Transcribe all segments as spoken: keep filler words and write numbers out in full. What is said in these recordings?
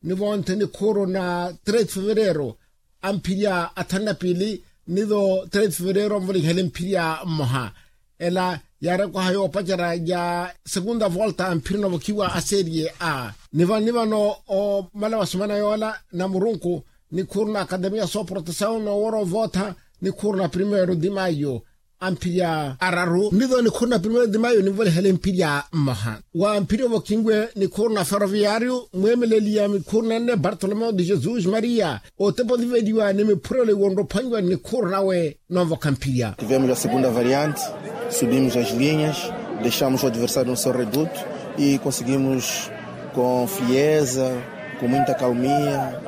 ni vonte nikhuuru na três fevereiro, amphirya athanu na piili, ni tho três fevereiro onvolihele mphirya mmoha. Ela yaarekwaha yoopacerya ya segunda volta amphirya novokhiwa a serie a. Ni vano ni vano omala wasumana yoola na murunku, nikhuuru na akademiya sooprotesawu noowora ovootha, nikhuuru na primeiro de maio, amphirya araru ni tho nikhuuru na primeiro de maio ninvolihele mphirya mmoha. Wa mphirya ovokhinwe nikhuuru na ferroviario, mweemeleli ya mikhuuru nenne bartolomeo de jesus maria, otepo oniveliwa ni miphurelo iwo onrophwanyiwa nikhuuru nawe. Noovokha mphirya. Tivemos a segunda variante, subimos as linhas, deixamos o adversário no seu reduto e conseguimos com frieza, com muita calmia,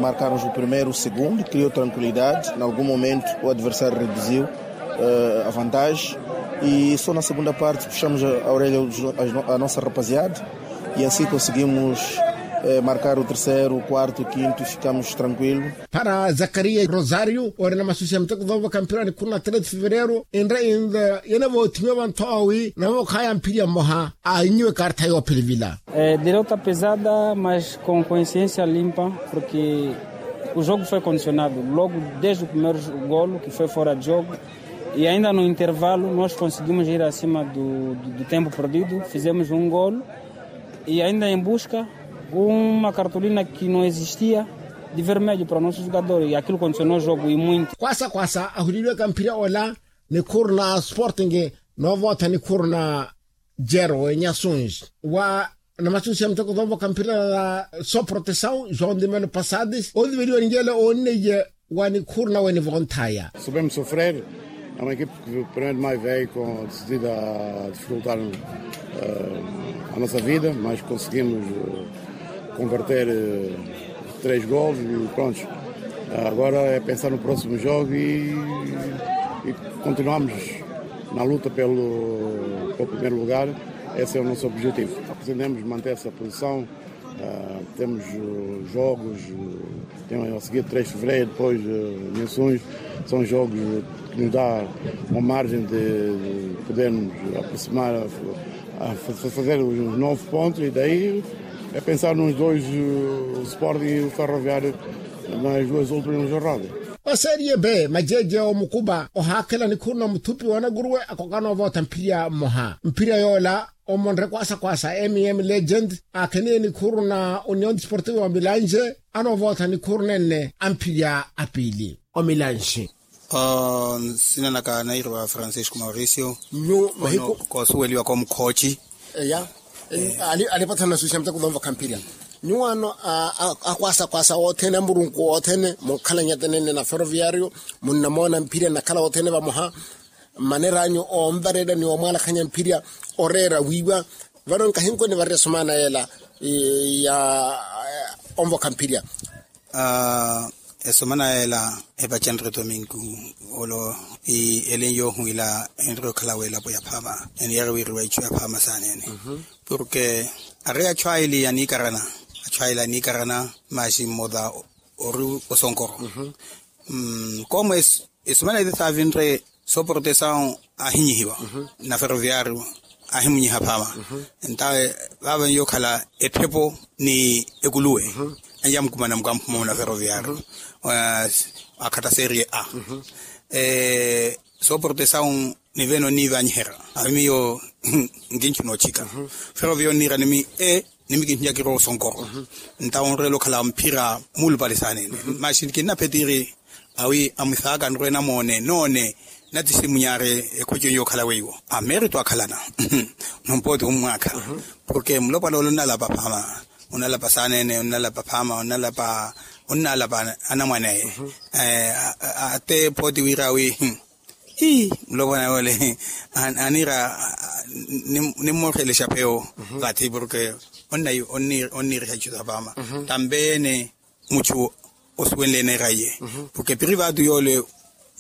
marcarmos o primeiro, o segundo, criou tranquilidade. Em algum momento o adversário reduziu a vantagem e só na segunda parte puxamos a orelha a nossa rapaziada e assim conseguimos marcar o terceiro, o quarto, o quinto e ficamos tranquilo. Para zakaria rosario ori na masusi ya muteko thoovaka mpira nikhuuru na três fevereiro, enre inda yenavoothiwe vantho awi navokhaya mphirya mmoha. Ainyiwe kartha yoophilivila. Derrota pesada mas com consciência limpa, porque o jogo foi condicionado logo desde o primeiro golo que foi fora de jogo. E ainda no intervalo nós conseguimos ir acima do tempo perdido, fizemos um golo e ainda em busca uma cartolina que não existia de vermelho para o nosso jogador e aquilo condicionou o jogo e muito. Kwasa kwasa ahuliliwaka mphirya ola nikhuuru na sporting, noovootha nikhuuru na jero enyasunji wa na masusi ya muteko thoovaka mpira na sooprotesawu joão de melo passades othiveliwa ni yele oonneiye wa nikhuuru nawe nivonthaya. Soubemos sofrer, é uma equipe que primeiro de maio veio com decidida a dificultar a nossa vida mas conseguimos converter três golos e pronto. Agora é pensar no próximo jogo e continuamos na luta pelo primeiro lugar. Esse é o nosso objetivo, pretendemos manter essa posição. Temos jogos, temos a seguir três fevereiro, depois menções. São jogos que nos dá uma margem de podermos aproximar, fazer os nove pontos e daí é pensar nos dois, o sporting e o ferroviário, nas duas últimas jornadas. Oseeriye be majeeje omukupa ohaakhela nikhuuru na muthupi wa nakuruwe akokana ovootha mphirya mmoha mphirya yoola omonre kwasa kwasa mm legend aakheniye nikhuuru na union sportivo wa milanje. Anoovootha nikhuuru nenne a mphirya a piili omilanji. Nsina naka nairiwa francisco mauricio. Nyuwo mahiku koosuweliwaka omukhooci. Eya. Alipathana na suuxa muteko thoomvokha mphirya. Nyuwo ano akwasa kwasa othene a murunku othene munkhalanyate nenne na ferroviario munnamoona mphirya nnakhala othene vamoha. Mmaner'anyu oonvareela ni oomwaalakhanya mphirya oreera wiiwa. Vano nkahinkoni varira esomana yeela ya onvokha mphirya. Esomana yeela epacenre domingo olo. Elen yoohuwila enre okhala w'elapo ya phaama. Eniyeera wiiriwa ichu ya phaama saanene. Porke ari achu aili aniikarana achu aili aniikarana. Masi mmota ori osonkoro. Koomo esumana ete saavinre sooporotesao ahinyihiwa na ferroviario ahimunyiha phaama. Entawe vaava niyokhala etthepo ni ekuluwe anyamukumana mukamphuma muna ferroviario akhatta serie a sooporotesao. Nivene onniivanyiherya awi miyo nkinchuna ochika. Ferroviario onniira nimi e nimi kinhiya kirowa osonkoro. Ntawo onreela okhala mphira muulupale saanene. Masi kinnaphetiri awi amwisaaka nrwe namoone noone natisimunyari ekhoci eyo okhala weiwo amerito akhalana. Nompooti ommwaakha porke mulopwana ole onnalapa phaama onnalapa saanene onnalapa phaama onnalapa onnalapa anamwaneye. Ate pooti wiira awi ii mulopwana yole aniira nimmoorelesha pewo. Vathi porke onniiriha ichu sapaama tambe yeene muchu osuwenle eneera iye porke piri vaatu yole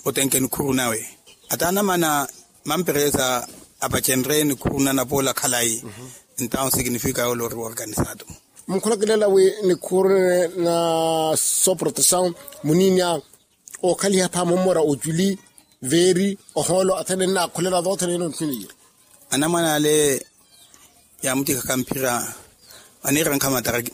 otenke nikhuru nawe ata anamana mamperesa apacenre nikhuru nanapoola khalayi. Entawo sikinifika yole ori woorganisatu. Munkhulakilela wi nikhuru na soprotesaw muninya okhaliha pha mummora oculi veeri ohoolo athene nnaakhulela thoothene ene onthuniye. Anamwane ale yaamutikhaka mphira aniirankha matariki